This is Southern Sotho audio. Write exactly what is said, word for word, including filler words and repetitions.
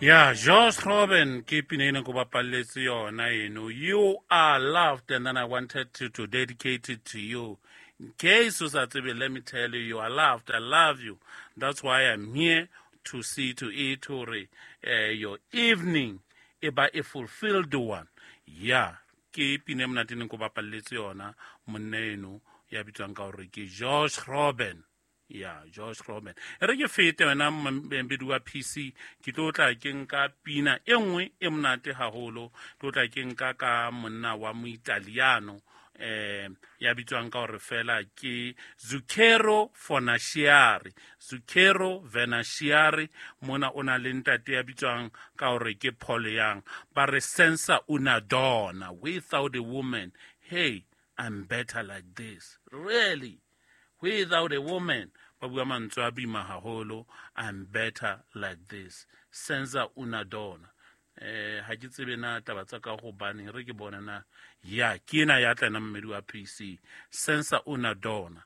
Yeah, Josh Robin, ke pina ena ko bapalletse yona eno. You are loved, and then I wanted to, to dedicate it to you. In case o sa tsebe, let me tell you, you are loved. I love you. That's why I'm here to see to it hore uh, your evening e ba a fulfilled one. Yeah, ke pina e monate neng ko bapalletse yona monna eno ya bitswang ka hore ke Josh Robin. Ya Josh Robin, e re ke fete wena mbedi wa P C, ke tlo tla ke nka pina e nngwe e monate haholo, tlo tla ke nka ka monna wa Moitaliano eh ya bitswang ka hore fela ke Zucchero Fornaciari. Zucchero Fornaciari mona o na le ntate ya bitswang ka hore ke Paul Young. Ba re senza una donna, without a woman, hey, I'm better like this. Really? Without a woman, ba bua mantswe a boima haholo, I'm better like this. Senza una donna. Eh, ha ke tsebe na taba tsa ka hobaneng, re ke bona na. Ya, ke ena ya tla nna mmedi wa P C. Senza una donna.